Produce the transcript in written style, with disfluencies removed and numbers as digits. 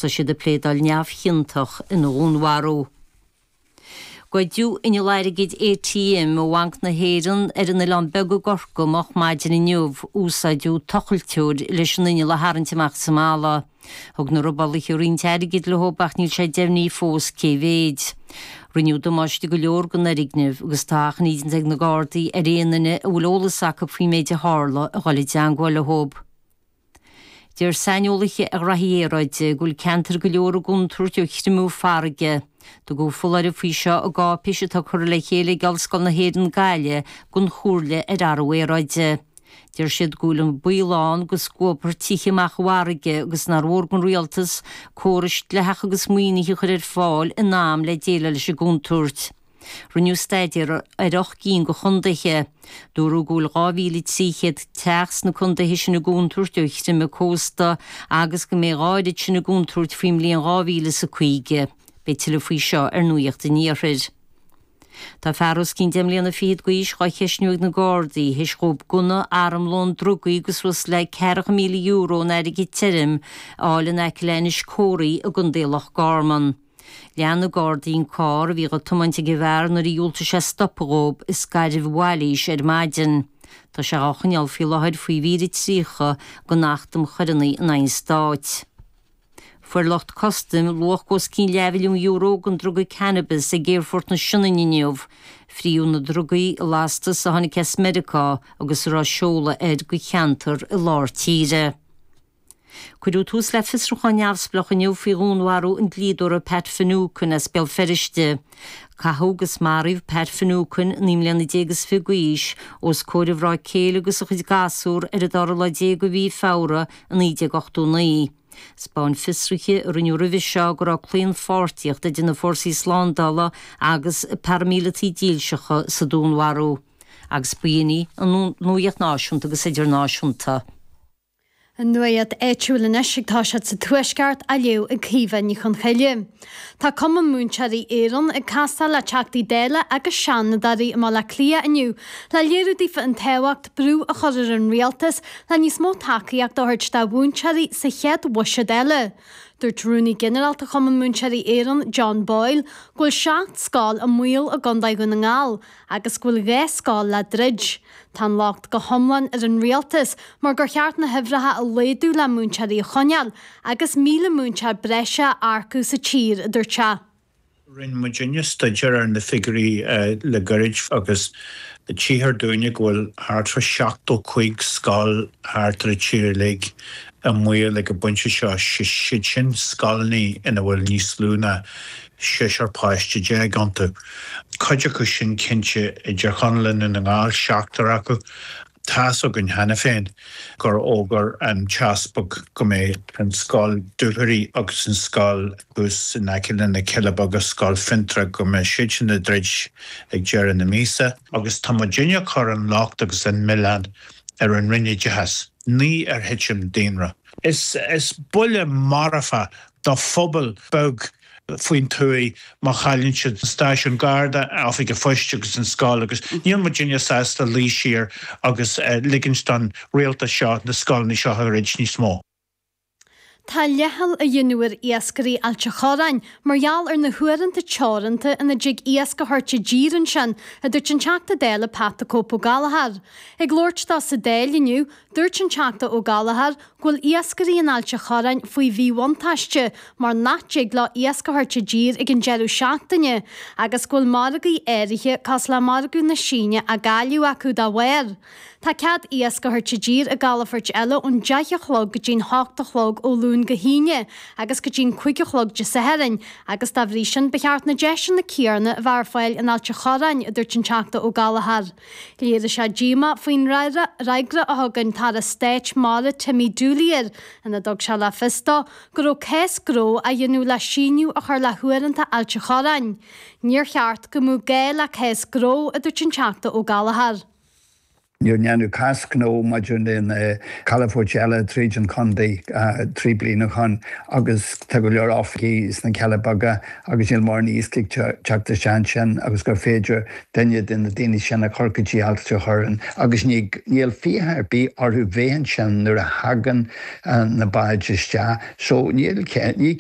agus tá siad ag pléadáil neamhchiontach ina dhúnmharú. Goideadh inneall airgid ATM ó Bhanc na hÉireann ar an Oileán Beag i gCorcaigh moch maidin inniu. Úsáideadh tochailteoir leis an inneall a tharraingt amach as an mballa. Thug na robálaithe roinnt airgid leo ach níl sé deimhnithe fós cé mhéid. Rinneadh damáiste go leor don fhoirgneamh agus tá achainí déanta ag na Gardaí ar aon duine a bhfuil eolas acu faoin méid a tharla a dhul i dteangmháil leo. Deir saineolaithe ar ghraithí aeráide go bhfuil ceantair go leor i gcontúirt ó chreimeadh farraige. Tugadh foláireamh faoi seo i gcáipéis atá curtha le chéile ag Ollscoil na hÉireann Gaillimh don Chomhairle ar Athrú Aeráide. Deir siad go bhfuil an baol ann go scuabfar tithe amach i bhfarraige agus nár mhór don rialtas córais dleathacha agus maoinithe a chur ar fáil in am le déileáil leis an gcontúirt. Rinneadh staidéar ar 8 gcinn de chontaetha. Dúradh go bhfuil 2,300 teach sna contaetha sin i gcontúirt ó chreimeadh cósta agus go mbeidh a oiread sin i gcontúirt faoin mbliain 2050. Beidh tuilleadh faoi seo ar Nuacht an Iarthair. Tá fear os cionn deich mbliana fichead d'aois dhá cheistniú ag na Gardaí théis dhóibh gunna, armlón, drugaí agus suas le €40,000 in airgead tirim a fháil in aice le Inis Córthaidh i gContae Loch Garman. Lean na Gardaí an carr a bhí á tiomáint ag an bhfear nuair a dhiúltaigh sé stopadh dhóibh i Scairbh Mhailís ar maidin. Tá sé á choinneáil faoi láthair faoi mhír 30 den Acht um Choireanna in aghaidh an Stáit. Fuair lucht custaim luach os cionn leathmhilliún euro den druga cannabis ag Aerfort na Sionainne inniu. Fríodh na drugaí i lastas a tháinig as Meiriceá agus a raibh seoladh air go cheantar i lár tíre. Cuireadh tús le fiosrúchán neamhspleách inniu faoi dhúnmharú an dlíodóra Pat Finucane as Béal Feirste. Caitheadh agus maraíodh Pat Finucane, 19 mbliana is fiche d'aois, os comhair a mhná céile agus a chuid gasúr ar an dara lá déag de mhí Feabhra i 1989. 'Spáin fiosruithe a rinneadh roimhe seo go raibh claonpháirtíocht idir na fórsaí slándála agus paraimíleataigh dílseacha sa dúnmharú. Agus b'in í an nuacht náisiúnta agus idirnáisiúnta. An nuacht áitiúil anois ag toiseacht sa Tuaisceart á léamh ag Caoimhe Ní Chonchoille. Tá Cumann Múinteoirí Éireann ag castáil le Teachtaí Dála agus Seanadóirí i mBaile Átha Cliath inniu le léiriú daofa an tábhacht brú a chur ar an Rialtas le níos mó tacaíocht a thabhairt do mhúinteoirí sa chéad bhuiséad eile. Dúirt Rúnaí Ginearálta Chumann Múinteoirí Éireann, John Boyle, go bhfuil 7 scoil i mbaol i gContae Dhún na nGall agus go bhfuil 2 scoil le druid. Tá an locht go hiomlán ar an rialtas mar gur cheart na huimhreacha a laghdú le múinteoirí a choinneáil agus 1,000 múinteoir breise a earcú sa tír, a dúirt sé. Rinne muidinne staidéar ar na figiúirí le gairid agus tchíthear dúinne go bhfuil thart fá 75 scoil thart ar an tír uilig i mbaol ag an bpointe seo, siad sin scoileanna ina bhfuil níos lú ná seisear páiste déag iontu. Cuid acu sin cinnte i dTír Chonaill i nDún na nGall, seachtar acu. Tá's againn cheana féin gur fhógair an tEaspag go mbeidh an scoil Dúchoraidh agus an scoil thuas in aice le na Cealla Beaga, Scoil Fionntrá, go mbeidh siad sin ag druid ag deireadh na míosa. Agus tá muidinne ag cur an locht agus an milleán ar an Roinn Oideachais, ní ar thitim daonra. Is buille marfach do phobal beag faoin tuaith má chailleann siad an stáisiún Garda, oifig an phoist agus an scoil agus níl muidinne sásta luí siar agus ligint don rialtas seo na scoileanna seo a dhruid níos mó. Tá leithcheal á dhéanamh ar iascairí Ailt a' Chorráin mar gheall ar na huaireanta teoranta ina dtig iasc a thabhairt i dtír ansin, a dúirt an Teachta Dála Pat 'The Cope Ó Gallchóir. Ag labhairt dó sa Dáil inniu, dúirt an Teachta Ó Gallchóir go bhfuil iascairí in Ailt a' Chorráin faoi mhíbhuntáiste mar nach dtig leo iasc a thabhairt i dtír ag an deireadh seachtaine agus go bhfuil margaí áirithe cosúil le margadh na Síne á gcailleadh acu dá bharr. Tá cead iasc a thabhairt i dtír i gcalafoirt eile ón deich a chlog go dtí'n hocht a chlog ó Luan go hAoine agus go dtí'n cuig a chlog Dé Sathairn agus dá bhrí sin ba cheart na deiseanna céanna a bheith ar fáil in Ailt a' Chorráin, a dúirt an Teachta Ó Gallchóir. Léirigh sé díomá faoin fhreagra a thug an tAire Stáit Mara Timmy Dooley air ina dtug sé le fios dó go raibh cás gnó á dhéanamh le síneadh a chur le huaireanta Ailt a' Chorráin. Níor cheart go mbeadh gá le cás gnó, a dúirt an Teachta Ó Gallchóir. Níor deineadh cás gnó maidir le na calafoirt eile tríd an chontae 3 bliana ó shoin agus tá go leor oifigí sna Cealla Beaga agus níl mórán iasc ag teacht isteach ansin agus gur féidir duine de na daoine sin a chur go dtí Ailt a' Chorráin agus níl fiacha ar bith orthu bheith ansin nuair a thagann na báid isteach so níl ní.